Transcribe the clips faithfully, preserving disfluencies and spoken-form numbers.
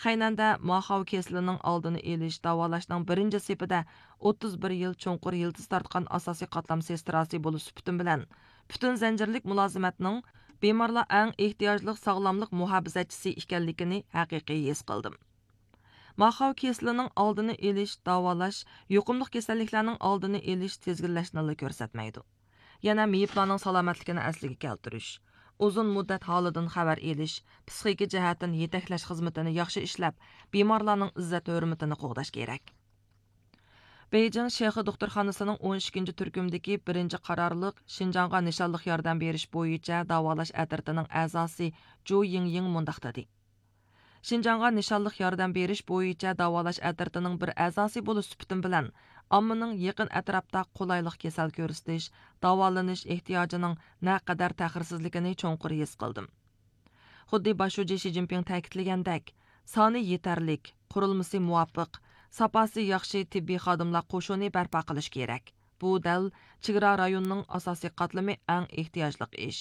قەينەندە ماخاۋ كېسىلىنىڭ ئالدىنى ئېلىش، داۋالاشنىڭ بىرىنچى سېپىدە ئوتتۇز بىر يىل چوڭقۇر يىلتىز تارتقان ئاساسىي قاتلام سېستراسى بولۇش سۈپىتىم بىلەن، پۈتۈن زەنجىرلىك مۇلازىمەتنىڭ بىمارلار ئەڭ ئېھتىياجلىق ساغلاملىق مۇھاپىزەتچىسى ئىكەنلىكىنى ھەقىقىي ھېس قىلدىم. ماخاۋ كېسىلىنىڭ ئالدىنى ئېلىش، داۋالاش، يۇقۇملۇق كېسەللىكلەرنىڭ ئالدىنى ئېلىش، تىزگىنلەشنىلا كۆرسەتمەيدۇ. يەنە مېيىپلارنىڭ سالامەتلىكىنى ئەسلىگە كەلتۈرۈش، ئۇزۇن مۇددەت ھالىدىن خەۋەر ئېلىش، پسىخىكا جەھەتتىن يېتەكلەش خىزمىتىنى ياخشى ئىشلەپ، بىمارلارنىڭ ئىززەت ھۆرمىتىنى قوغداش كېرەك. بېيجىڭ شېخې دوختۇرخانىسىنىڭ ئون ئىككىنچى تۈركۈمدىكى بىرىنچى قارارلىق شىنجاڭغا نىشانلىق ياردەم بېرىش بويىچە داۋالاش ئەترىتىنىڭ ئەزاسى جۇ يىڭيىڭ مۇنداق دېدى: شىنجاڭغا نىشانلىق ياردەم بېرىش بويىچە داۋالاش ئەترىتىنىڭ بىر ئەزاسى بولۇش سۈپىتىم بىلەن، ئاممىنىڭ يېقىن ئەتراپتا قولايلىق كېسەل كۆرسىتىش، داۋالىنىش ئېھتىياجىنىڭ نەقەدەر تەخىرسىزلىكىنى چوڭقۇر ھېس قىلدىم. خۇددى باش شۇجى شى جىنپىڭ تەكىتلىگەندەك، سانى يېتەرلىك، قۇرۇلمىسى مۇۋاپىق، ساپاسى ياخشى تېببىي خادىملار قوشۇنى بەرپا قىلىش كېرەك. بۇ دەل چېگرا رايونىنىڭ ئاساسىي قاتلىمى ئەڭ ئېھتىياجلىق ئىش.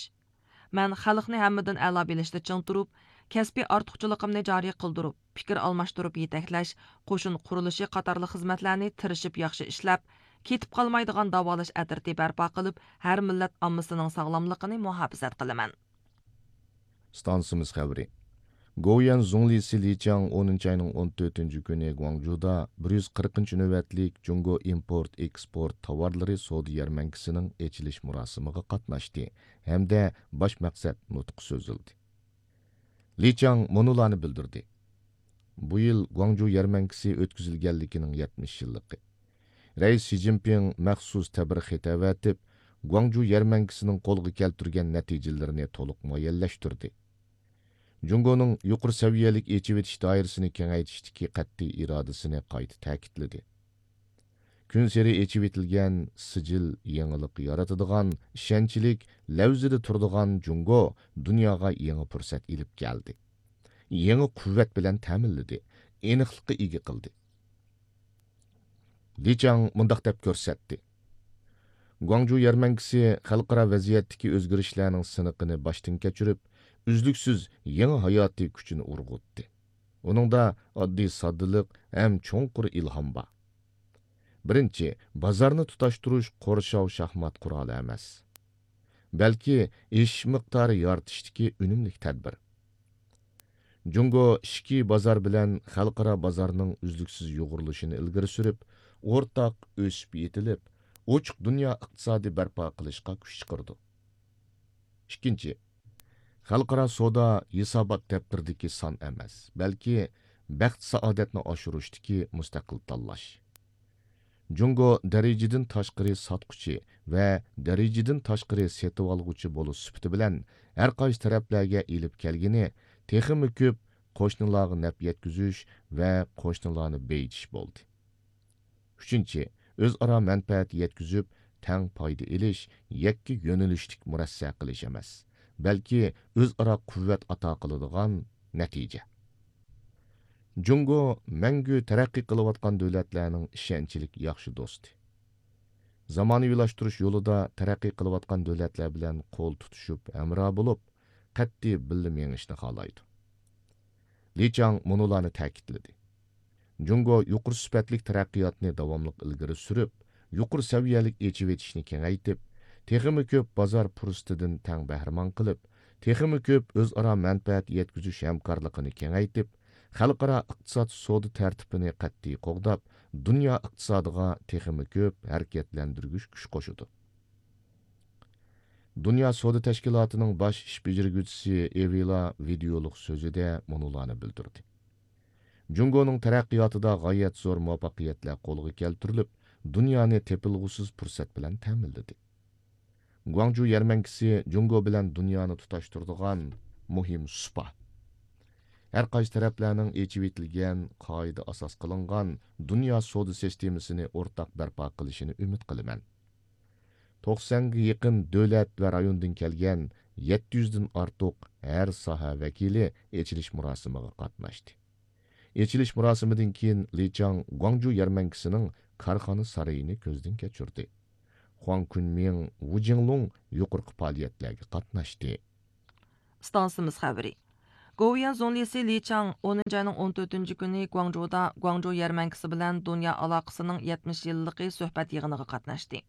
مەن خەلقنى ھەممىدىن ئەلا بىلىشتە چىڭ تۇرۇپ، كەسپىي ئارتۇقچىلىقىمنى جارى قىلدۇرۇپ، پىكىر ئالماشتۇرۇپ يېتەكلەش، قوشۇن قۇرۇلۇشى قاتارلىق خىزمەتلەرنى تىرىشىپ ياخشى ئىشلەپ، كېتىپ قالمايدىغان داۋالاش ئەترىتى بەرپا قىلىپ، ھەر مىللەت ئاممىسىنىڭ ساغلاملىقىنى مۇھاپىزەت قىلىمەن. ئىستانسىمىز خەۋىرى. گوۋۇيۈەن زۇڭلىسى لى چياڭ ئونىنچى ئاينىڭ ئون تۆتىنچى كۈنى گۇاڭجۇدا بىر يۈز قىرىقىنچى نۆۋەتلىك جۇڭگو ئىمپورت ئېكسپورت تاۋارلىرى سودا يەرمەنكىسىنىڭ ئېچىلىش مۇراسىمىغا قاتناشتى ھەمدە باش مەقسەت نۇتقى سۆزلىدى. لى چياڭ مۇنۇلارنى بىلدۈردى: بۇ يىل گۇاڭجۇ يەرمەنكىسى ئۆتكۈزۈلگەنلىكىنىڭ يەتمىش يىللىقى. رەئىس شى جىنپىڭ مەخسۇس تەبرىك خېتى ئەۋەتىپ، گۇاڭجۇ يەرمەنكىسىنىڭ قولغا كەلتۈرگەن نەتىجىلىرىنى تولۇق مۇئەييەنلەشتۈردى. جۇڭگونىڭ يۇقىرى سەۋىيەلىك ئېچىۋېتىش دائىرىسىنى كېڭەيتىشتىكى قەتئىي ئىرادىسىنى قايتا تەكىتلىدى. كۈنسېرى ئېچىۋېتىلگەن سىجىل يېڭىلىق يارىتىدىغان، ئىشەنچلىك، لەۋزىدە تۇرىدىغان جۇڭگو دۇنياغا يېڭى پۇرسەت ئېلىپ كەلدى. يېڭى قۇۋۋەت بىلەن تەمىنلىدى، ئېنىقلىققا ئىگە قىلدى. لى چياڭ مۇنداق دەپ كۆرسەتتى: گۇاڭجۇ يەرمەنكىسى خەلقئارا ۋەزىيەتتىكى ئۆزگىرىشلەرنىڭ سىنىقىنى باشتىن كەچۈرۈپ، ئۈزلۈكسىز يېڭى ھاياتىي كۈچىنى ئۇرغۇتتى. ئۇنىڭدا ئاددىي ساددىلىق ھەم چوڭقۇر ئىلھام بار. بىرىنچى، بازارنى تۇتاشتۇرۇش قورشاۋ شاھمات قورالى ئەمەس، بەلكى ئېشىش مىقدارى يارىتىشتىكى ئۈنۈملۈك تەدبىر. جۇڭگو ئىچكى بازار بىلەن خەلقئارا بازارنىڭ ئۈزلۈكسىز يۇغۇرۇلۇشىنى ئىلگىرى سۈرۈپ، ئورتاق ئۆسۈپ يېتىلىپ، ئوچۇق دۇنيا ئىقتىسادى بەرپا قىلىشقا كۈچ چىقىرىدۇ. ئىككىنچى، خەلقئارا سودا ھېسابات دەپتىرىدىكى سان ئەمەس، بەلكى بەخت-سائادەتنى ئاشۇرۇشتىكى مۇستەقىل تاللاش. جۇڭگو دەرىجىدىن تاشقىرى ساتقۇچى ۋە دەرىجىدىن تاشقىرى سېتىۋالغۇچى بولۇش سۈپىتى بىلەن ھەر قايسى تەرەپلەرگە ئېلىپ كەلگىنى تېخىمۇ كۆپ قوشنىلارغا نەپ يەتكۈزۈش ۋە قوشنىلارنى بېيىتىش بولدى. ئۈچىنچى، ئۆزئارا مەنپەئەت يەتكۈزۈپ، تەڭ پايدا ئېلىش، يەككە يۆنىلىشلىك مۇرەسسە قىلىش ئەمەس، بەلكى ئۆزئارا قۇۋۋەت ئاتا قىلىدىغان نەتىجە. جۇڭگو مەڭگۈ تەرەققىي قىلىۋاتقان دۆلەتلەرنىڭ ئىشەنچلىك ياخشى دوستى. زامانىۋىلاشتۇرۇش يولىدا تەرەققىي قىلىۋاتقان دۆلەتلەر بىلەن قول تۇتۇشۇپ ھەمراھ بولۇپ، قەتئىي بىللە مېڭىشنى خالايدۇ. لى چياڭ مۇنۇلارنى تەكىتلىدى: جۇڭگو يۇقىرى سۈپەتلىك تەرەققىياتنى داۋاملىق ئىلگىرى سۈرۈپ، يۇقىرى سەۋىيەلىك ئېچىۋېتىشنى كېڭەيتىپ، تېخىمۇ كۆپ بازار پۇرسىتىدىن تەڭ بەھرىمەن قىلىپ، تېخىمۇ كۆپ ئۆزئارا مەنپەئەت يەتكۈزۈش ھەمكارلىقىنى كېڭەيتىپ، خەلقئارا ئىقتىساد سودا تەرتىپىنى قەتئىي قوغداپ، دۇنيا ئىقتىسادىغا تېخىمۇ كۆپ ھەرىكەتلەندۈرگۈچ كۈچ قوشىدۇ. دۇنيا سودا تەشكىلاتىنىڭ باش ئىش بېجىرگۈچىسى ئېۋىلا ۋىدېئولۇق سۆزىدە مۇنۇلارنى بىلدۈردى: جۇڭگونىڭ تەرەققىياتىدا غايەت زور مۇۋەپپەقىيەتلەر قولغا كەلتۈرۈلۈپ، دۇنيانى تېپىلغۇسىز پۇرسەت بىلەن تەمىنلىدى. گۇاڭجۇ يەرمەنكىسى جۇڭگو بىلەن دۇنيانى تۇتاشتۇرىدىغان مۇھىم سۇپا. ھەر قايسى تەرەپلەرنىڭ ئېچىۋېتىلگەن، قائىدە ئاساس قىلىنغان دۇنيا سودا سىستېمىسىنى ئورتاق بەرپا قىلىشىنى ئۈمىد قىلىمەن. توقسانغا يېقىن دۆلەت ۋە رايوندىن كەلگەن يەتتە يۈزدىن ئارتۇق ھەر ساھە ۋەكىلى ئېچىلىش مۇراسىمىغا قاتناشتى. ئېچىلىش مۇراسىمىدىن كېيىن لى چياڭ گۇاڭجۇ يەرمەنكىسىنىڭ كارخانا سارىيىنى كۆزدىن كەچۈردى. خۇاڭ كۈنمىڭ، ۋۇ جىڭلۇڭ يۇقىرىقى پائالىيەتلەرگە قاتناشتى. ئىستانسىمىز خەۋىرى. گوۋۇيۈەن زۇڭلىسى لى چاڭ ئونىنچى ئاينىڭ ئون تۆتىنچى كۈنى گۇاڭجۇدا گۇاڭجۇ يەرمەنكىسى بىلەن دۇنيا ئالاقىسىنىڭ يەتمىش يىللىقى سۆھبەت يىغىنىغا قاتناشتى.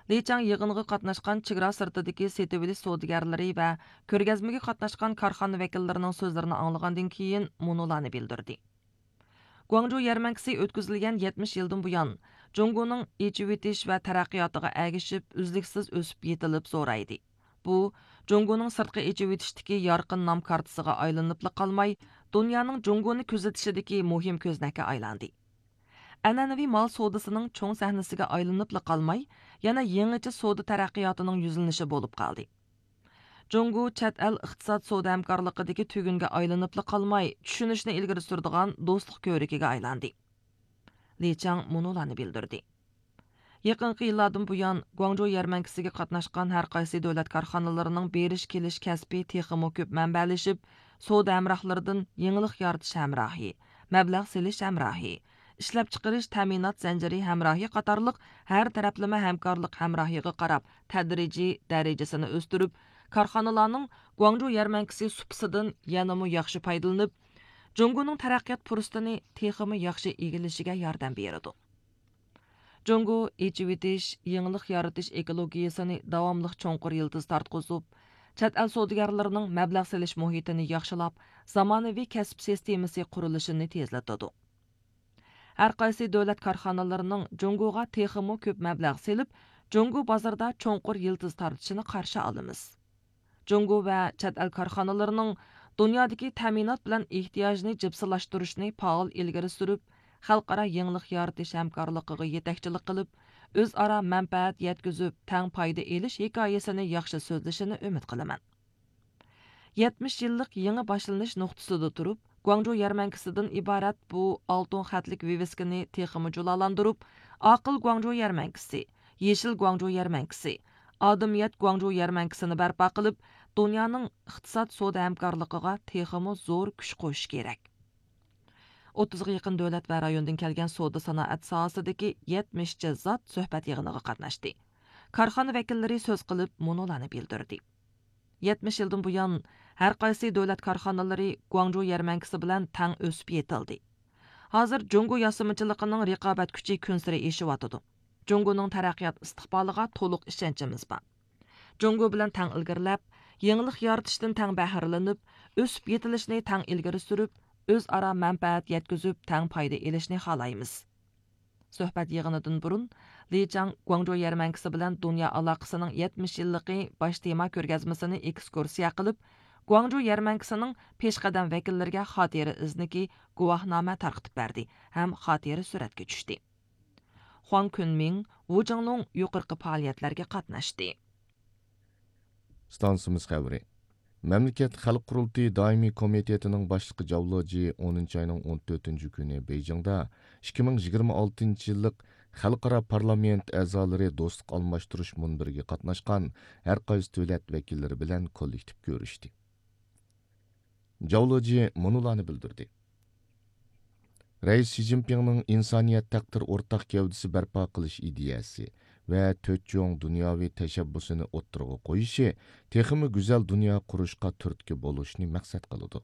لى چاڭ يىغىنغا قاتناشقان چېگرا سىرتىدىكى سېتىۋېلىش سودىگەرلىرى ۋە كۆرگەزمىگە قاتناشقان كارخانا ۋەكىللىرىنىڭ سۆزلىرىنى ئاڭلىغاندىن كېيىن مۇنۇلارنى بىلدۈردى. گۇاڭجۇ يەرمەنكىسى ئۆتكۈزۈلگەن يەتمىش يىلدىن بۇيان، جۇڭگونىڭ ئېچىۋېتىش ۋە تەرەققىياتىغا ئەگىشىپ، ئۈزلۈكسىز ئۆسۈپ يېتىلىپ زورايدى. بۇ، جۇڭگونىڭ سىرتقا ئېچىۋېتىشتىكى يارقىن نام كارتىسىغا ئايلىنىپلا قالماي، دۇنيانىڭ جۇڭگونى كۆزىتىشىدىكى مۇھىم كۆزنەككە ئايلاندى. ئەنئەنىۋى مال سودىسىنىڭ چوڭ سەھنىسىگە ئايلىنىپلا قالماي، يەنە يېڭىچە سودا تەرەققىياتىنىڭ يۈزلىنىشى بولۇپ قالدى. جۇڭگو چەت ئەل ئىقتىساد سودا ھەمكارلىقىدىكى تۈگۈنگە ئايلىنىپلا قالماي، چۈشىنىشنى ئىلگىرى سۈرىدىغان دوستلۇق كۆۋرۈكىگە ئايلاندى. لى چاڭ مۇنۇلارنى بىلدۈردى. يېقىنقى يىللاردىن بۇيان، گۇاڭجۇ يەرمەنكىسىگە قاتناشقان ھەر قايسى دۆلەت كارخانىلىرىنىڭ بېرىش كېلىش كەسپى تېخىمۇ كۆپ مەنبەلىشىپ، سودا ھەمراھلىرىدىن يېڭىلىق يارىتىش ھەمراھى، مەبلەغ سېلىش ھەمراھى، ئىشلەپچىقىرىش تەمىنات زەنجىرى ھەمراھى قاتارلىق ھەر تەرەپلىمە ھەمكارلىق ھەمراھىغا قاراپ تەدرىجىي دەرىجىسىنى ئۆستۈرۈپ، كارخانىلارنىڭ گۇاڭجۇ يەرمەنكىسى سۇپىسىدىن يەنىمۇ ياخشى پايدىلىنىپ، جۇڭگونىڭ تەرەققىيات پۇرسىتىنى تېخىمۇ ياخشى ئىگىلىشىگە ياردەم بېرىدۇ. جۇڭگو ئېچىۋېتىش، يېڭىلىق يارىتىش ئېكولوگىيىسىنى داۋاملىق چوڭقۇر يىلتىز تارتقۇزۇپ، چەت ئەل سودىگەرلىرىنىڭ مەبلەغ سېلىش مۇھىتىنى ياخشىلاپ، زامانىۋى كەسىپ سىستېمىسى قۇرۇلۇشىنى تېزلىتىدۇ. ھەر قايسى دۆلەت كارخانىلىرىنىڭ جۇڭگوغا تېخىمۇ كۆپ مەبلەغ سېلىپ، جۇڭگو بازىرىدا چوڭقۇر يىلتىز تارتىشىنى قارشى ئالىمىز. جۇڭگو ۋە چەت ئەل كارخانىلىرىنىڭ دۇنيادىكى تەمىنات بىلەن ئېھتىياجنى جىپسىلاشتۇرۇشنى پائال ئىلگىرى سۈرۈپ، خەلقئارا يېڭىلىق يارىتىش ھەمكارلىقىغا يېتەكچىلىك قىلىپ، ئۆزئارا مەنپەئەت يەتكۈزۈپ، تەڭ پايدا ئېلىش ھېكايىسىنى ياخشى سۆزلىشىنى ئۈمىد قىلىمەن. يەتمىش يىللىق يېڭى باشلىنىش نۇقتىسىدا تۇرۇپ، گۇاڭجۇ يەرمەنكىسىدىن ئىبارەت بۇ ئالتۇن خەتلىك ۋىۋىسكىنى تېخىمۇ جۇلالاندۇرۇپ، ئاقىل گۇاڭجۇ يەرمەنكىسى، يېشىل گۇاڭجۇ يەرمەنكىسى، ئادىمىيەت گۇاڭجۇ يەرمەنكىسىنى بەرپا قىلىپ، دۇنيانىڭ ئىقتىساد سودا ھەمكارلىقىغا تېخىمۇ زور كۈچ قوشۇش كېرەك. ئوتتۇزغا يېقىن دۆلەت ۋە رايوندىن كەلگەن سودا سانائەت ساھەسىدىكى يەتمىشچە زات سۆھبەت يىغىنىغا قاتناشتى. كارخانا ۋەكىللىرى سۆز قىلىپ، مۇنۇلارنى بىلدۈردى. يەتمىش يىلدىن بۇيان، ھەر قايسى دۆلەت كارخانىلىرى گۇاڭجۇ يەرمەنكىسى بىلەن تەڭ ئۆسۈپ يېتىلدى. ھازىر جۇڭگو ياسىمىچىلىقىنىڭ رىقابەت كۈچى كۈنسېرى ئېشىۋاتىدۇ. جۇڭگونىڭ تەرەققىيات ئىستىقبالىغا تولۇق ئىشەنچىمىز بار. جۇڭگو بىلەن تەڭ ئىلگىرىلەپ، يېڭىلىق يارىتىشتىن تەڭ بەھرىلىنىپ، ئۆسۈپ يېتىلىشنى تەڭ ئىلگىرى سۈرۈپ، ئۆزئارا مەنپەئەت يەتكۈزۈپ، تەڭ پايدا ئېلىشنى خالايمىز. سۆھبەت يىغىنىدىن بۇرۇن، لى چاڭ گۇاڭجۇ يەرمەنكىسى بىلەن دۇنيا ئالاقىسىنىڭ يەتمىش يىللىقى باش تېما كۆرگەزمىسىنى ئېكسكۇرسىيە قىلىپ، گۇاڭجۇ يەرمەنكىسىنىڭ پېشقەدەم ۋەكىللىرىگە خاتىرە ئىزنىكى گۇۋاھنامە تارقىتىپ بەردى ھەم خاتىرە سۈرەتكە چۈشتى. خۇاڭ كۈنمىڭ، ۋۇ جىڭلۇڭ يۇقىرىقى پائالىيەتلەرگە قاتناشتى. ئىستانسىمىز خەۋىرى. مەملىكەت خەلق قۇرۇلتىيى دائىمىي كومىتېتىنىڭ باشلىقى جاۋ لېجى ئونىنچى ئاينىڭ ئون تۆتىنچى كۈنى بېيجىڭدا ئىككى مىڭ يىگىرمە ئالتىنچى يىللىق خەلقئارا پارلامېنت ئەزالىرى دوستلۇق ئالماشتۇرۇش مۇنبىرىگە قاتناشقان ھەر قايسى دۆلەت ۋەكىللىرى بىلەن كوللېكتىپ كۆرۈشتى. جاۋ لېجى مۇنۇلارنى بىلدۈردى. رەئىس شى جىنپىڭنىڭ ئىنسانىيەت تەقدىر ئورتاق گەۋدىسى بەرپا قىلىش ئىدىيەسى ۋە تۆت چوڭ دۇنياۋى تەشەببۇسىنى ئوتتۇرىغا قويۇشى تېخىمۇ گۈزەل دۇنيا قۇرۇشقا تۈرتكە بولۇشنى مەقسەت قىلىدۇ.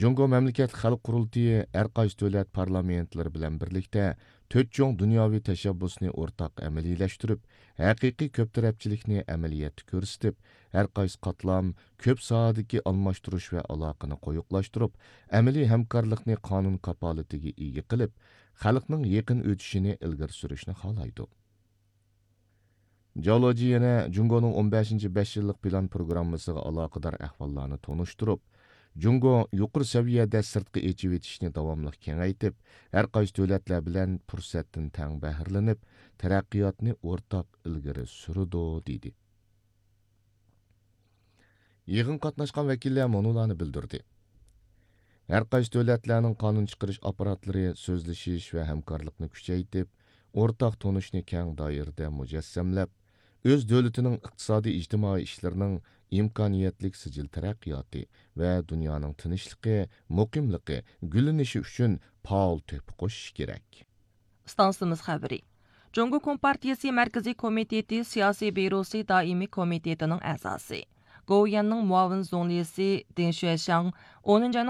جۇڭگو مەملىكەت خەلق قۇرۇلتىيى ھەر قايسى دۆلەت پارلامېنتلىرى بىلەن بىرلىكتە تۆت چوڭ دۇنياۋى تەشەببۇسنى ئورتاق ئەمەلىيلەشتۈرۈپ، ھەقىقىي كۆپ تەرەپچىلىكنى ئەمەلىيەتتە كۆرسىتىپ، ھەر قايسى قاتلام كۆپ ساھەدىكى ئالماشتۇرۇش ۋە ئالاقىنى قويۇقلاشتۇرۇپ، ئەمەلىي ھەمكارلىقنى قانۇن كاپالىتىگە ئىگە قىلىپ، خەلقنىڭ يېقىن ئۆتۈشىنى ئىلگىرى سۈرۈشنى خالايدۇ. جاۋ لېجى يەنە جۇڭگونىڭ ئون بەشىنچى بەش يىللىق پىلان پروگراممىسىغا ئالاقىدار ئەھۋاللارنى تونۇشتۇرۇپ، جۇڭگو يۇقىرى سەۋىيەدە سىرتقا ئېچىۋېتىشنى داۋاملىق كېڭەيتىپ، ھەر قايسى دۆلەتلەر بىلەن پۇرسەتتىن تەڭ بەھرىلىنىپ، تەرەققىياتنى ئورتاق ئىلگىرى سۈرىدۇ، دېدى. يىغىنغا قاتناشقان ۋەكىللەر مۇنۇلارنى بىلدۈردى. ھەر قايسى دۆلەتلەرنىڭ قانۇن چىقىرىش ئاپپاراتلىرى سۆزلىشىش ۋە ھەمكارلىقنى كۈچەيتىپ، ئورتاق تونۇشنى كەڭ دائىرىدە مۇجەسسەملەپ، ئۆز دۆلىتىنىڭ ئىقتىسادىي ئىجتىمائىي ئىشلىرىنىڭ ئىمكانىيەتلىك سىجىل تەرەققىياتى ۋە دۇنيانىڭ تىنچلىقى، مۇقىملىقى، گۈللىنىشى ئۈچۈن پائال تۆھپە قوشۇشى كېرەك. ئىستانسىمىز خەۋىرى. جۇڭگو كومپارتىيىسى مەركىزىي كومىتېتى سىياسىي بيۇروسى دائىمىي كومىتېتىنىڭ ئەزاسى، گوۋۇيۈەننىڭ مۇئاۋىن زۇڭلىسى دېڭ شۈەشياڭ ئونىنچى